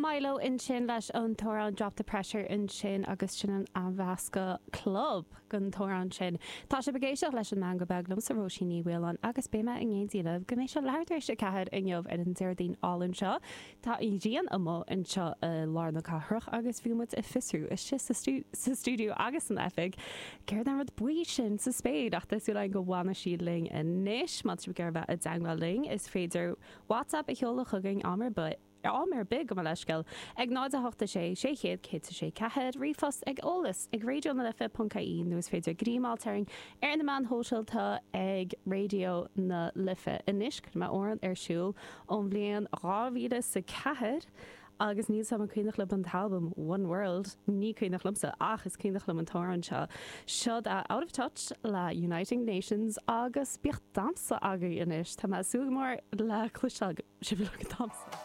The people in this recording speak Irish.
Mylo ansin leis an t-amhrán Drop the Pressure ansin agus sin an athmheascadh club den t-amhrán sin. Tá sibh ag éisteacht leis an Meangadh Beag liomsa Róisín Ní Mhaoláin agus beidh mé in éindí libh go mbeidh sé leathuair tar éis 4 inniu ar an Déardaoin álainn seo. Tá an ghrian amuigh anseo i lár na cathrach agus bhí muid ag fiosrú istigh sa stiúideo agus san oifig céard é an rud buí sin sa spéir ach tá súil againn go bhfanfaidh sí linn anois. Má tá sibh ag iarraidh bheith i dteangmháil linn is féidir WhatsApp a sheoladh chugainn am ar bith, am ar bith, gabh mo leithscéal, ag 0 8 6 600 106 4, ríomhphost ag eolas ag raidionalife.ie nó is féidir greim a fháilt orainn ar na meáin shóisialta ag Raidió na Life. Anois, cuirfidh mé amhrán ar siúl ón bhliain 2004 agus níl 's agam an cuimhneach libh an t-albam One World, ní cuimhneach liomsa ach is cuimhneach liom an t-amhrán seo. Seod é Out of Touch le Uniting Nations agus bíodh damhsa agaibh anois, tá mé ag súil go mór le cloisteáil sibh ag damhsa.